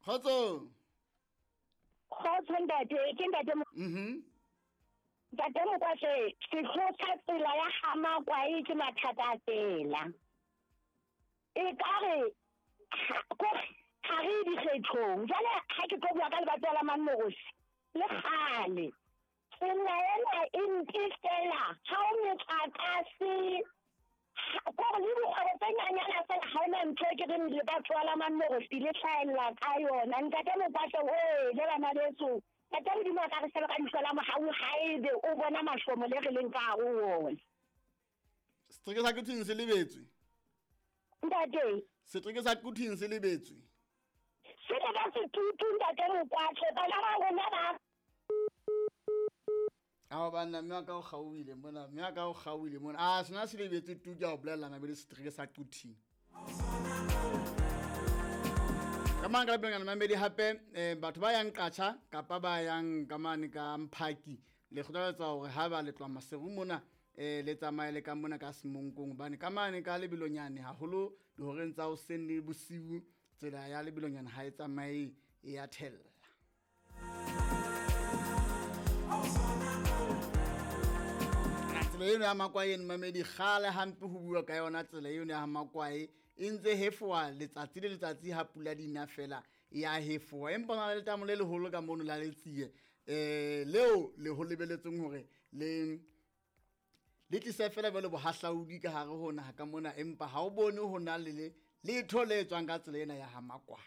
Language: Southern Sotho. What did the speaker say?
Kgotso. Kgotso ntate, ke ntate. Ntate Mokwatse, sehlooho sa tsela ya Hamakwae ke mathata a tsela. E ka re ha re dikgethong. Jwale ha ke tlo bua ka lebatowa la Mamogosi le kgale. Tsela ena e mpe fela, ha o metlakase, kore le dikgwebo tse nyanyana fela ha ona ntho e ke reng lebatowa la Mamogosi le hlahella ka yona. Ntate Mokwatse oe le bana beso. Ntate Modimo a ka re sheba ka leihlo la mohau haebe o bona mahlomo le re leng ka hare ho ona. Setereke sa Quthing se lebetswe. Ntate. Setereke sa Quthing se lebetswe. Se le ka setutu ntate Mokwatse, bana ba rona ba. Ao banna mme wa ka o kgaohile mona, mme wa ka o kgaohile mona. A sena se lebetswe tu ke a o bolella mabedi setereke sa Quthing. Ka mang ka lapeng mamedi hape batho ba yang Qacha kapa ba yang ka mane ka Mphaki le kgothaletsa hore ha ba le tloha Maseru mona le tsamaye le ka mona ka Semonkong hobane ka mane ka lebelonyane haholo dihoreng tsa hoseng le bosiu tsela ya lebelonyane ha e tsamaye e ya thella. Tsela eno ya Makwae eno mamedi kgale hampe ho bua ka yona tsela eno ya Makwae e ntse hefoa letsatsi le letsatsi ha pula di na fela ya hefoa, empa na le letamo le leholo ka mono la Letsie leo le ho lebeletseng hore le le tlise fela jwale bohahlaudi ka hare ho naha ka mona, empa ha o bone ho na le letho le etswang ka tsela ena ya ha Makwae.